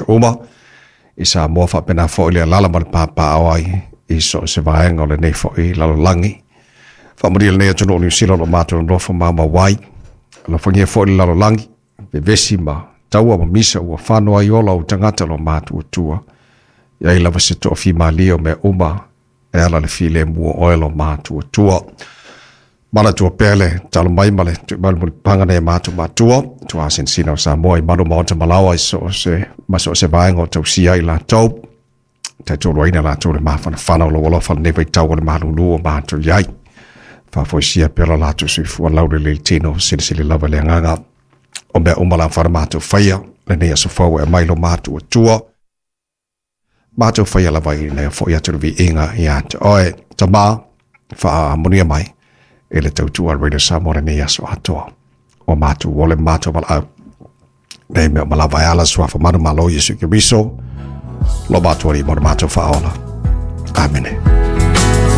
tagata uma i Samoa faapena foi le alaala ma le papaaao ai i so o se vaega o lenei foi lalolagi. Faamanuia lenei atunuu o Niu Sila o lo o matou nonofo maumau ai. Alofagia foi le lalolagi, vevesi ma taua ma misa ua fano ai ola o tagata o lo matuatua. I ai lava se toafimalie o mea uma e ala i le filemu o oe lo matuatua. Manatua pea le talo mai ma le tui mai le mulipapaga nai a matou matua, tuasinasina o Samoa i malu maota malaoa i so o se ma so o se vaega o tausia ai latou. Taitoluaina latou i le mafanafana o lou alofa i lenei vaitau o le malulu o matou i ai. Faafoisia pea lo latou soifua laulelei tino, silisili lava i le agaga o mea uma la mafai ona matou faia lenei aso fou e aumai lo matuatua. Matou faia lava ina ia foi atu le viiga ia te oe. Tama, faamanuia mai i le tautua a Radio Samoa lenei aso atoa. Ua matou ole ma matou valaau. Nei mea uma lava e ala suafa manumalo o Iesu Keriso, lo matou Alii ma lo matou Faaola. Amene.